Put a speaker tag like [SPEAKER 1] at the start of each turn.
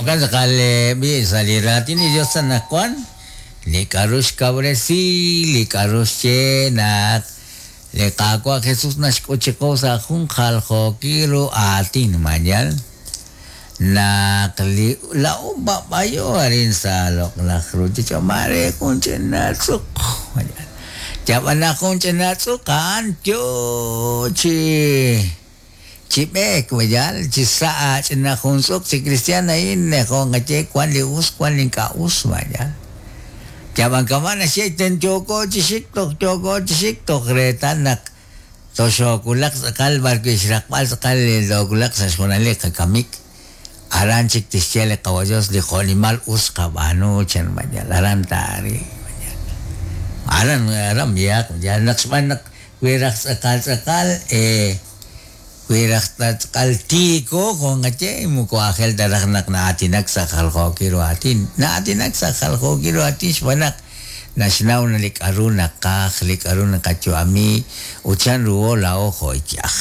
[SPEAKER 1] Jo'kan tz'aqal b'i' sa' li raatin li Dios anaqwan, li k'a'ru xkawresi, li k'a'ru xye naq li Qaawa' Jesus naxk'ut chiqu sa' jun jaljookil ru aatin, ma yaal? Naq li laa'o b'ab'ayo arin sa' loq'laj ruuchich'och' maare jun ch'ina tz'uq, ma yaal? Yab'an naq jun ch'ina tz'uq a'an yoo chi chi b'eek, ma yaal? Chi sa' aach'ina jun tz'uq chi kristiaan a'in jo' nqaye wan li us, wan li ink'a' us, ma yaal? Yab'an kama' naxye ten yooko chi xik, toj yooko chi xik, toj reetal naq toxoowulaq tz'aqal b'arwi' xraqb'al tz'aqal li toowulaq sa' xjunal li qakamik, aran chik tixye li Qawa' Dios li jo'nimal us xqab'aanu chan ma yaal, aran taaril ma yaal. Aran aran b'ihaq ma yaal naq xb'aan naq wi raj tz'aqal tz'aqal wi raj ta tz'aqal tiiko jo' nqaye moko aajel ta raj naq na'aatinak sa' jaljookil ru aatin, na'aatinak sa' jaljookil ru aatin xb'aan naq naxnaw na li k'a'ru naqaj, li k'a'ru naqayu'ami ut chanruho laa'o jo' iyaj.